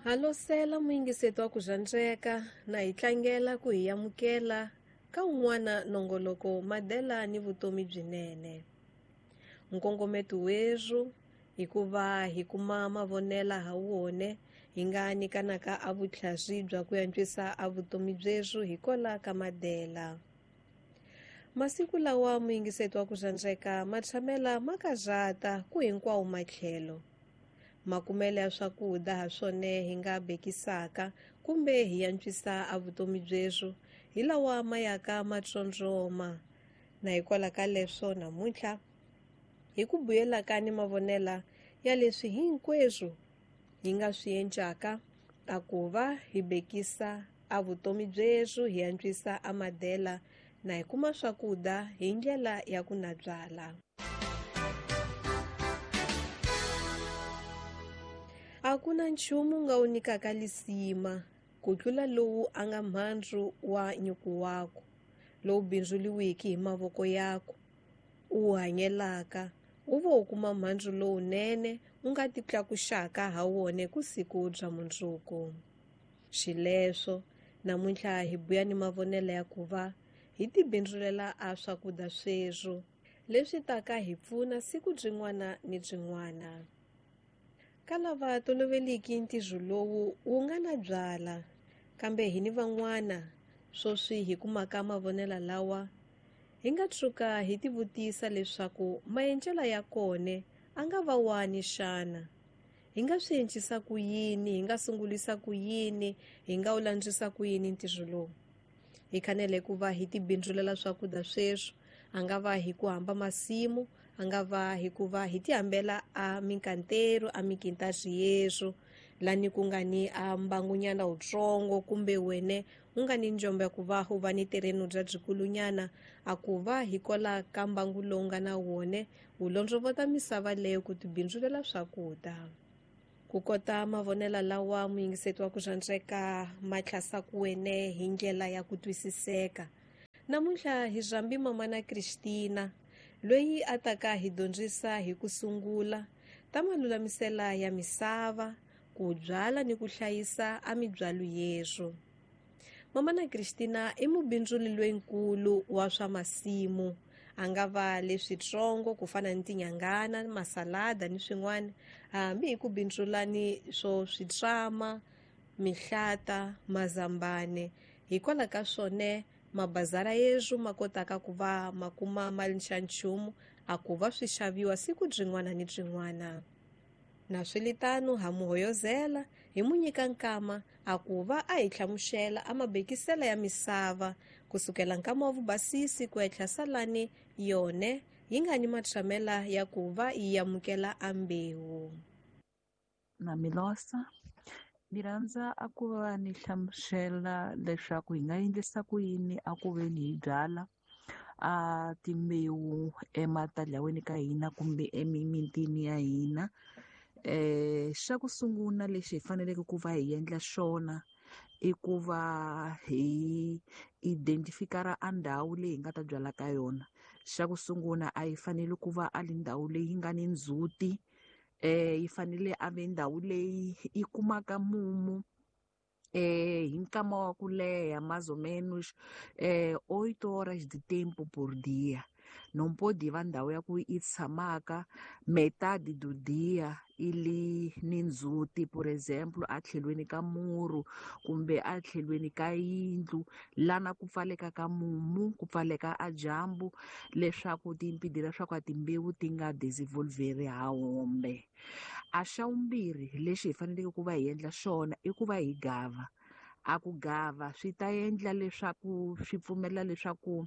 Halosela muyingiseti wa ku rhandzeka na hi tlangela ku hi amukela ka un'wana nongoloko madela ni vutomi byinene. Nkongometo werhu hikuva hi kuma mavonela ha wone hi nga nyikanaka a vutlhari bya ku antswisa a vutomi byerhu hikola ka madela. Masiku lawa muyingiseti wa ku rhandzeka ma tshamela ma karhata ku hinkwawo matlhelo. Makumele ya swakudya ha swona hi nga bekisaka kumbe hi antswisa a vutomi byerhu hi lawa ma yaka ma tsondzoma. Na hikwalaho ka leswo namuntlha hi ku buyelaka ni mavonela ya leswi hinkweswo hi nga swi endlaka a ku va hi bekisa a vutomi byerhu hi antswisa a madela na hi kuma swakudya hi ndlela ya ku na byala. A ku na nchumu nga wu nyikaka lisima ku tlula lowu a nga mhandzu wa nyuku wako lowu bindzuliwiki hi mavoko yako u hanyelaka u vo u kuma mhandzu lowunene u nga titlakuxaka ha wona ku siku bya mundzuku. Xileswo namuntlha hi buya ni mavonelo ya ku va hi tibindzulela a swakudya sweswo leswi taka hi pfuna siku byin'wana ni byin'wana. Ka lava toloveliki ntirho lowu wu nga na byala, kambe hi ni van'wana swoswi hi kumaka mavonelo lawa hi nga tshuka hi tivutisa leswaku maendlelo ya kona a nga va wani xana. Hi nga swi encisa ku yini, hi nga sungulisa ku yini, hi nga wu landzisa ku yini ntirho lowu. Hi fanele ku va hi tibindzulela swakudya sweswo, a nga va hi ku hamba masimu, a nga va hi ku va hi tihambela a minkantero a mikintaxi yeswo lani ku nga ni a mbangunyana wutsongo kumbe wene u nga ni njombo ya ku va u va ni tereno bya byikulunyana a ku va hi kola ka mbangu lowu nga na wone wu londzovota misava leyo ku tibindzulela swakudya. Ku kota mavonelo lawa muyingiseti wa ku rhandzeka ma tlhasaku wene hi ndlela ya ku twisiseka. Namuntlha hi rhambi mamana Christina loyi a taka hi dyondzisa hi ku sungula ta malulamisela ya misava, ku byala ni ku hlayisa a mibyalo yeswo. Mamana Christina i mubindzuli loyinkulu wa swa masimu, a nga va leswitsongo ku fana ni tinyangana, masalada ni swin'wana, hambi hi ku bindzula ni swo switsama, mihlata, mazambane. Hikwalaho ka swona mabazara yeswo ma kotaka ku va ma kuma mali xa nchumu a ku va swi xaviwa siku byin'wana ni byin'wana. Na swilitano ha muhoyozela hi mu nyika nkama a ku va a hi hlamusela a mabekisela ya misava kusukela nkama wa vubasisi ku etlha salani yone yi nga ni matshamela ya ku va yi amukela a mbewu. Na Milosa, ni rhandza a ku va ni hlamusela leswaku hi nga endlisa ku yini a ku veni hi byala a timbewu ematalaweni ka hina kumbe emimitini ya hina. Xa ku sungula lexi hi faneleke ku va hi endla xona i ku va hi identify-a a ndhawu leyi hi nga ta byala ka yona. Xa ku sungula a yi fanele ku va a li ndhawu leyi nga ni ndzhuti, yi fanele a ve ndhawu leyi yi kumaka mumu hi nkama wa ku leha, mais ou menos 8 horas de tempo por dia. Não pode va ndhawu ya ku yi tshamaka metade do dia i li ni ndzhuti, por exemplo a tlhelweni ka muru kumbe a tlhelweni ka yindlu lana ku pfaleka ka mumu, ku pfaleka a dyambu, leswaku timpidi leswaku a timbewu ti nga desenvolveri ha hombe. A xa vumbirhi lexi hi faneleke ku va hi endla xona i ku va hi gava. A ku gava swi ta endla leswaku swi pfumela leswaku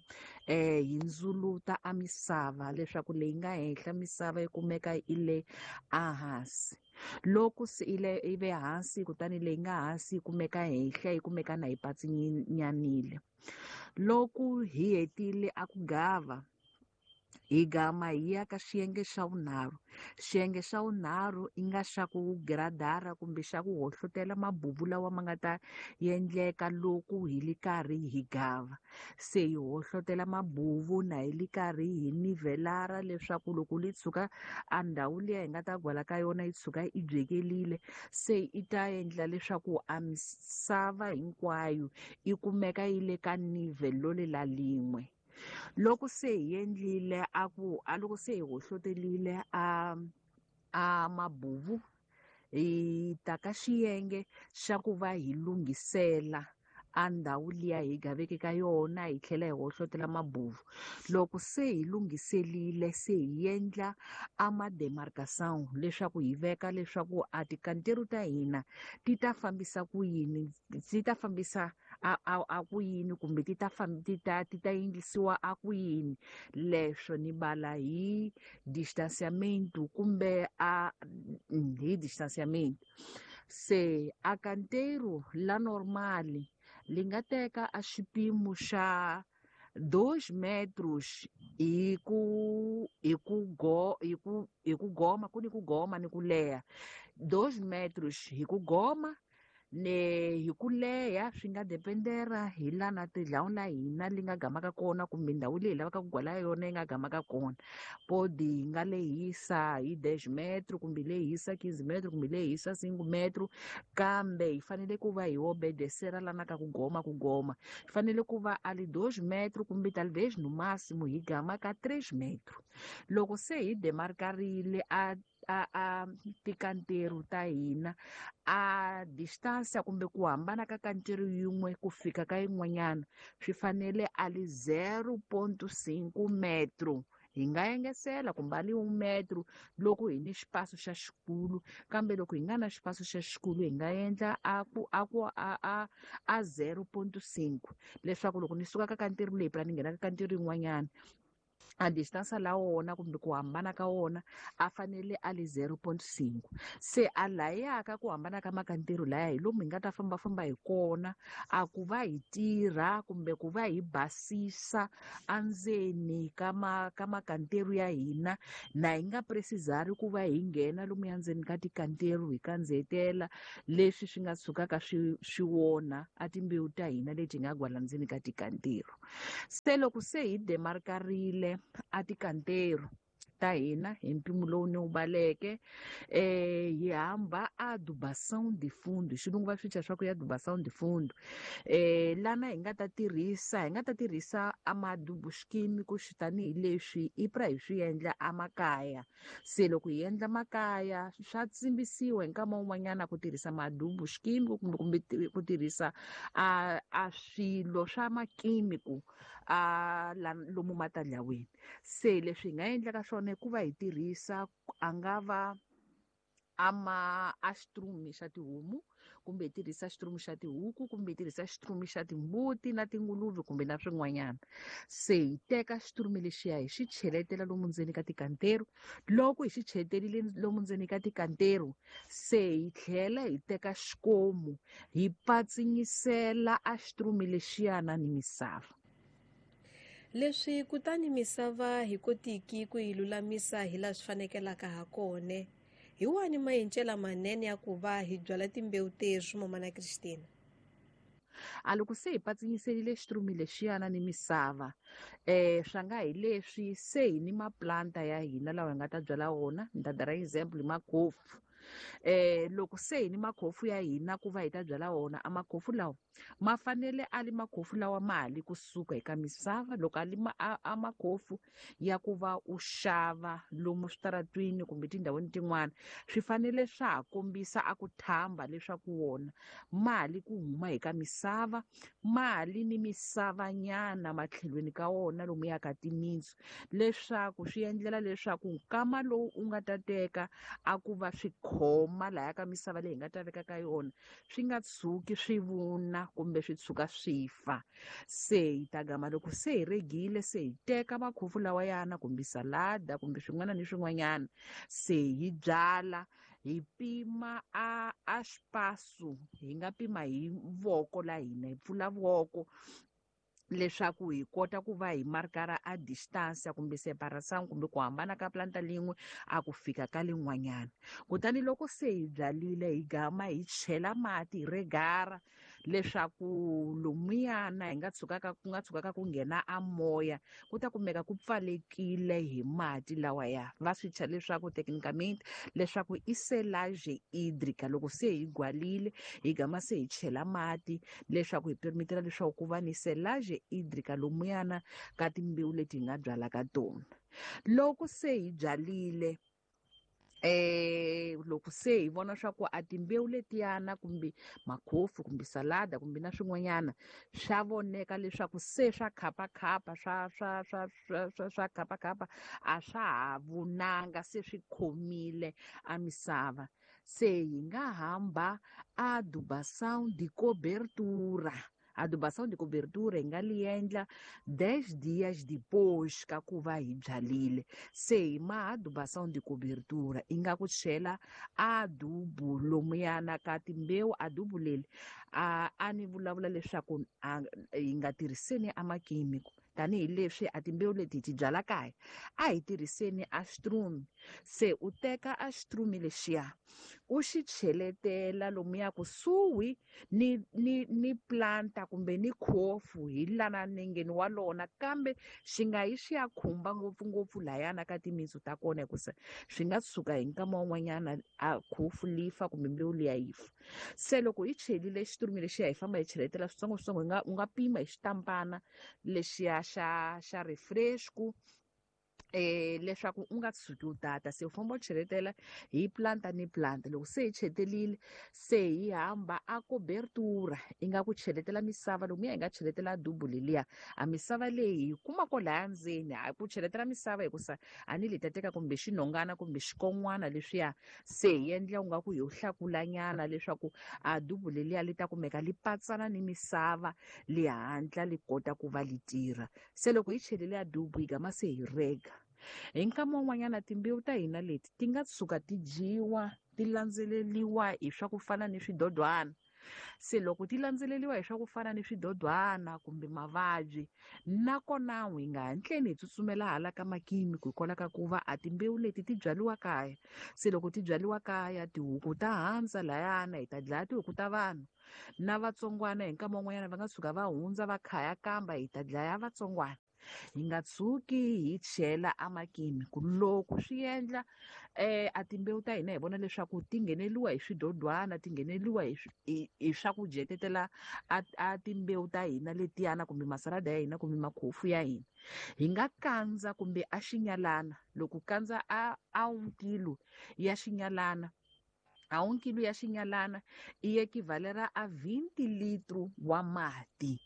hi ndzuluta a misava leswaku leyi nga henhla misava yi kumeka yi le ehansi. Loko se yi le yi ve hansi kutani leyi nga hansi yi kumeka henhla yi kumeka na yi patsinyanile. Loko hi hetile a ku gava Hi gama hi ya ka xiyenge xa vunharhu. Xiyenge xa vunharhu i nga xa ku giradara kumbe xa ku hohlotela mabubu lawa ma nga ta endleka loko hi li karhi hi gava. Se hi hohlotela mabubu na hi li karhi hi nivelara leswaku loko li tshuka a ndhawu liya hi nga ta gwala ka yona yi tshuka yi byekelile, se i ta endla leswaku a misava hinkwayo yi kumeka yi le ka nivel lolela lin'we. Loko se hi endlile a ku a loko se hi hohlotelile a mabubu, hi ta ka xiyenge xa ku va hi lunghisela a ndhawu liya hi gaveke ka yona, hi tlhela hi hohlotela mabubu. Loko se hi lunghiselile, se hi endla a ma-demarcation leswaku hi veka leswaku a tikanteru ta hina ti ta fambisa ku yini, ti ta fambisa a ku yini, kumbe ti ta ti ta ti ta yingisiwa a ku yini. Leswo ni bala hi distanciamento kumbe a hi distanciamento. Se a kanteru la normali li nga teka a xipimo xa 2 metros hi ku hi ku go hi ku hi ku goma, ku ni ku goma ni ku leha. 2 metros hi ku goma ne hi ku leha, swi nga dependera hi lana tindhawu la hina li nga gamaka kona kumbe ndhawu leyi hi lavaka ku gwala yona yi nga gamaka kona. Podi hi nga lehisa hi 10 metro kumbe lehisa 15 metro kumbe lehisa 5 metro, kambe hi fanele ku va hi obedesera lana ka ku goma ku goma. Hi fanele ku va a li 2 metro kumbe talvez no máximo hi gama ka 3 metro. Loko se hi demarkarile a tikanteru ta hina, a distance kumbe ku hambana ka kanteru yin'we ku fika ka yin'wanyana swi fanele a li 0.5 metro. Hi nga engesela kumbe a li 1 metro loko hi ni xipaso xa xikulu, kambe loko hi nga na xipaso xa xikulu hi nga endla a ku a ku a a a 0.5, leswaku loko ni suka ka kanteru leyi phela ni nghena ka kanteru yin'wanyana, a distance la wona kumbe ku hambana ka wona a fanele a li 0.5. Se a layaka ku hambana ka makanteru laya hi lomu hi nga ta fambafamba hi kona, a ku va hi tirha kumbe ku va hi basisa andzeni ka ka makanteru ya hina, na hi nga precisari ku va hi nghena lomu ya ndzeni ka tikanteru hi kandzetela leswi swi nga tshukaka swi wona a timbewu ta hina leti nga gwala ndzeni ka tikanteru. Se loko se hi demarkarile a tikanteru ta hina hi mpimo lowu ni wu baleke, hi hamba a adubação de fundo, xilungu va swi thya swa ku ya adubação de fundo, lana hi nga ta tirhisa, hi nga ta tirhisa a madubu xikimi ku xi tanihileswi i pra hi swi endla emakaya. Se loko hi endla makaya swa tsimbisiwa hi nkama wun'wanyana ku tirhisa madubu xikimi kumbe ku tirhisa a swilo swa makimiku a lomu matandlawini. Se leswi hi nga endlaka swona i ku va hi tirhisa a nga va ama a xitrumi xa tihomu, kumbe hi tirhisa xitrumi xa tihuku, kumbe hi tirhisa xitrumi xa timbuti na tinguluve kumbe na swin'wanyana. Se hi teka xitrumi lexiya hi xi cheletela lomu ndzeni ka tikanteru. Loko hi xi cheleterile lomu ndzeni ka tikanteru, se hi tlhela hi teka xikomu hi patsinyisela a xitrumi lexiyana ni misava. Leswi kutani misava hi kotiki ku yi lulamisa hi laha swi fanekelaka ha kona, hi wani maendlelo manene ya ku va hi byala timbewu teswi, Mamana Christina? A loko se hi patsinyiserile xitrumi lexiyana ni misava, swa nga hi leswi se hi ni maplanta ya hina lawa hi nga ta byala wona. Ni ta dira example hi makhofu. Loko se hi ni makhofu ya hina ku va hi ta byala wona, a makhofu lawa ma fanele a li makhofu lawa ma ha li kusuka eka misava. Loko a li a makhofu ya ku va u xava lomu switaratwini kumbe tindhawini tin'wana, swi fanele swa ha kombisa a ku thamba leswaku wona ma ha li ku huma eka misava, ma ha li ni misavanyana matlhelweni ka wona lomu ya ka timintsu, leswaku swi endlela leswaku nkama lowu u nga ta teka a ku va swi khoma laya ka misava leyi hi nga ta veka ka yona, swi nga tshuki swi vuna kumbe swi tshuka swi fa. Se hi ta gama loko se hi regile, se hi teka makhofu lawa yana kumbe salada kumbe swin'wana ni swin'wanyana, se hi byala, hi pima a xipasu, hi nga pima hi voko la hina, hi pfula voko Leswaku hi kota ku va hi markara a distance kumbe separation kumbe ku hambana ka planta lin'we a ku fika ka lin'wanyana. Kutani loko se hi byalile, hi gama hi chela mati, hi regara leswaku lomuyana hi nga tshukaka ku nga tshukaka ku nghena a moya, ku ta kumeka ku pfalekile hi mati lawaya. Va swi thya leswaku technicamente leswaku i selage hídrica. Loko se hi gwalile, hi gama se hi chela mati leswaku hi permitela leswaku ku va ni selage hídrica lomuyana ka timbewu leti hi nga byala ka tona. Loko se hi byalile, loko se hi vona swa ku a timbewu letiyana kumbe makhofu kumbe salada kumbe na swin'wanyana swa voneka leswaku se swa khapakhapa, swa, swa, swa, swa, swa, swa khapakhapa, a swa ha vunanga, se swi khomile a misava, se hi nga hamba a adubação de cobertura. Adubação de cobertura hi nga li endla 10 dias depois ka ku va hi byalile. Se hi ma adubação de cobertura i nga ku chela adubu lomuyana ka timbewu. Adubu leri a ni vulavula leswaku hi nga tirhiseni a makhemikhali, tanihileswi a timbewu leti hi ti byala kaya, a hi tirhiseni a xitrume. Se u teka a xitrume lexiya u xi cheletela lomuya kusuhi ni planta kumbe ni khofu hi lana nengeni wa lona, kambe xi nga yi xi ya khumba ngopfungopfu layana ka timitsu ta kona, hikusa swi nga tshuka hi nkama wun'wanyana a khofu li fa kumbe mbewu liya yi fa. Se loko hi chelile xitrume lexiya, hi famba hi cheletela switsongoswitsongo, u nga pima hi xitampana lexiya xa refresco, leswaku u nga tshuki u tata. Se u famba u cheletela hi planta ni planta. Loko se hi chetelile, se hi hamba a cobertura, i nga ku cheletela misava lomuya hi nga cheletela adubu leliya. A misava leyi hi kuma ko laya ndzeni, a ku cheletela misava hikusa a ni li ta teka kumbe xinhongana kumbe xikon'wana leswiya, se hi endla u nga ku hi hlakulanyana leswaku adubu leliya li ta kumeka li patsana ni misava, li hatla li kota ku va li tirha. Se loko hi chelile adubu, hi gama se hi rega. Hi nkama wun'wanyana timbewu ta hina leti ti nga tshuka ti dyiwa, ti landzeleriwa hi swa ku fana ni swidodwana. Se loko ti landzeleriwa hi swa ku fana ni swidodwana kumbe mavabyi, nakona hi nga hatleni hi tsutsumela hala ka makhemikhali, hikwalaho ka ku va a timbewu leti ti byariwa kaya. Se loko ti byariwa kaya, tihuku ta handza layana, hi ta dlaya tihuku ta vanhu. Na vatsongwana hi nkama wun'wanyana va nga tshuka va hundza va khaya kamba, hi ta dlaya vatsongwana. Hi nga tshuki hi chela a makhemikhali. Loko swi endla, a timbewu ta hina hi vona leswaku ti ngheneliwa hi swidodwana, ti ngheneliwa hi swa ku dyetetela a timbewu ta hina letiyana kumbe masalada ya hina kumbe makhofu ya hina, hi nga kandza kumbe a xinyalana. Loko kandza a 1 kilo ya xinyalana, a 1 kilo ya xinyalana i equivalera a 20 litro wa mati.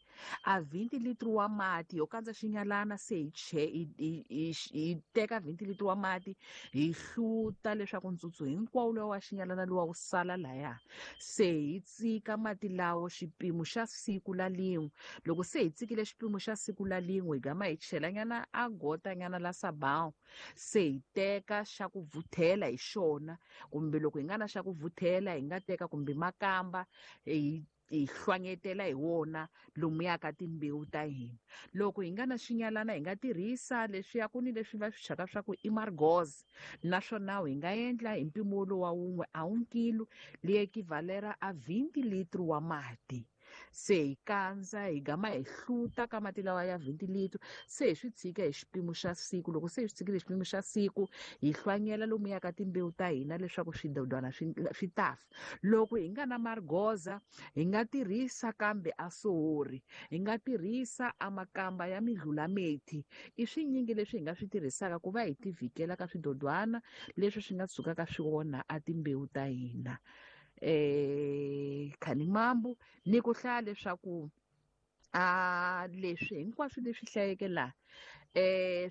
A 20 litro wa mati yo kandza xinyalana, se hi che, hi, hi, hi, hi teka 20 litro wa mati hi hluta leswaku ntsutsu hinkwawo lowa wa xinyalana luwa wu sala laya. Se hi tsika mati lawo xipimo xa siku la lin'we. Loko se hi tsikile xipimo xa siku la lin'we, hi gama hi chelanyana a gotanyana la sabão. Se hi teka xa ku vuthela hi xona, kumbe loko hi nga na xa ku vuthela hi nga teka kumbe makamba hi hlwanyetela hi wona lomuya ka timbewu ta hina. Loko hi nga na xinyalana hi nga tirhisa leswiya ku ni leswi va swi thyaka swa ku i margoz, naswona hi nga endla hi mpimo lowa wun'we a 1 kilo li equivalera a 20 litro wa mati. Se hi kandza hi gama hi hluta ka mati lawa ya 20 litro, se hi swi tshika hi xipimo xa siku. Loko se hi swi tshikile hi xipimo xa siku, hi hlwanyela lomuya ka timbewu ta hina leswaku swidodwana swi ta fa. Loko hi nga na margoza, hi nga tirhisa kambe a sohori, hi nga tirhisa a makamba ya midlulamethi. I swinyingi leswi hi nga swi tirhisaka ku va hi tivhikela ka swidodwana leswi swi nga tshukaka swi onha a timbewu ta hina. Khanimambu ni ku hlaya leswaku a leswi hinkwaswo leswi hlayeke laha,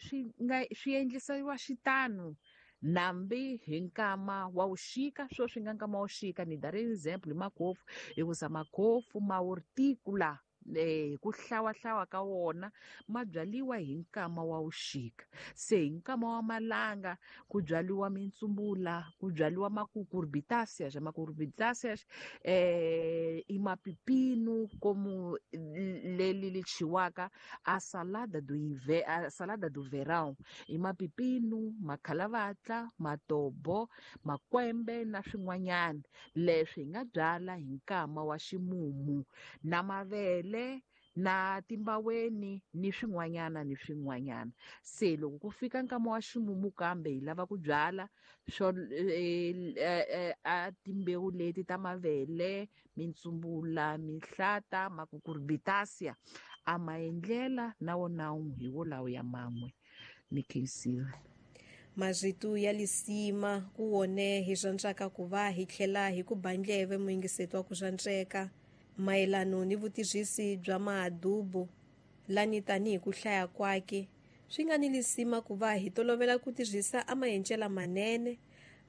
swi nga swi endlisiwa xitano nambi hi nkama wa vuxika. Swo swi nga nkama wa vuxika, ni dari example hi makhofu, hikusa makhofu ma horticola Hi ku hlawahlawa ka wona ma byaliwa hi nkama wa vuxika. Se hi nkama wa malanga ku byaliwa mintsumbula, ku byaliwa macucurbitaceae. Macucurbitaceae i mapipinu como leli li chiwaka a salada do a salada do verão, i mapipinu, makhalavatla, matobo, makwembe na swin'wanyana. Leswi hi nga byala hi nkama wa ximumu, na mavele na timbaweni ni swin'wanyana ni swin'wanyana. Se loko ku fika nkama wa ximumu kambe hi lava ku byala swo a timbewu leti ta mavele, mintsumbula, mihlata, macucurbitaceae, a maendlela na wona hi wolawo ya man'we. Ni khensile. Marito ya lisima ku wone hi rhandzaka ku va hi tlhela hi ku ba ndleve muyingiseti wa ku rhandzeka mayelano ni vutirhisi bya maadubu lani tanihi ku hlaya kwake swi nga ni lisima ku va hi tolovela ku tirhisa a maendlela manene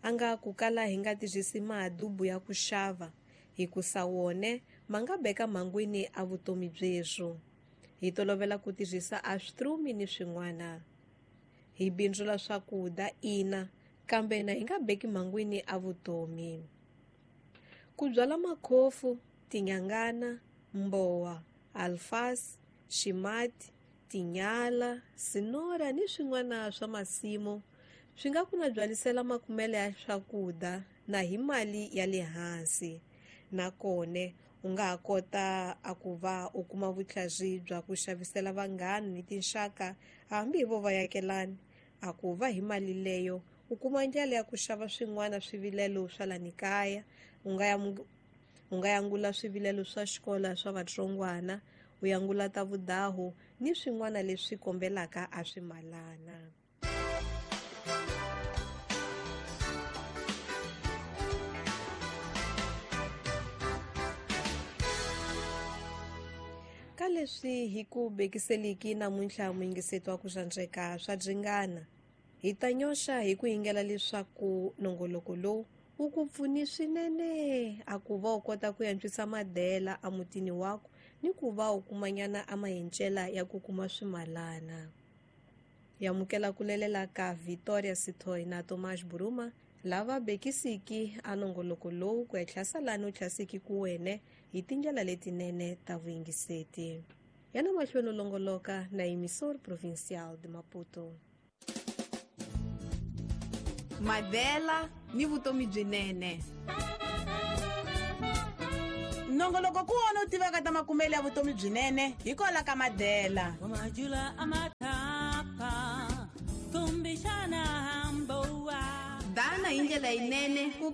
a nga ku kala hi nga tirhisi maadubu ya ku xava hikusa wone ma nga beka mhangwini a vutomi byebyo. Hi tolovela ku tirhisa a switrumi ni swin'wana hi bindzula swakudya ina kambe na hi nga beki mhangwini a vutomi. Ku byala makhofu, tinyangana, mbowa, alfasi, ximati, tinyala, sinora ni swin'wana swa masimu swi nga ku na byalisela makumelo ya swakudya na hi mali ya le hansi. Nakone u nga ha kota a ku va u kuma vutlhari bya ku xavisela vanghana ni tinxaka hambi hi vo va yakelani, a ku va hi mali leyo u kuma ndlela ya ku xava swin'wana swivilelo swa lani kaya. U nga yangula swivilelo swa xikolo swa vatsongwana, u yangula ta vudahu ni swin'wana leswi kombelaka a swimalana. Ka leswi hi ku bekiseliki namuntlha muyingiseti wa ku rhandzeka swa dringana, hi ta nyoxa hi ku yingela leswaku nongoloko lowu wu ku pfuni swinene a ku va u kota ku antswisa madela emutini waku ni ku va u kumanyana a mahencela ya ku kuma swimalana. Hi amukela ku lelela ka Victoria Sithoi na Tomás Buruma lava bekisiki a nongoloko lowu ku etlhasa lani u tlhasiki ku wene hi tindlela letinene ta vuyingiseti. Yana mahlweni u longoloka na Emissor Provincial de Maputo. Madela ni vutomi byinene. Nongoloko ku wona u tivaka ta makumelo ya vutomi byinene hikwalaho ka Madela. Dana hi ndlela yinene ku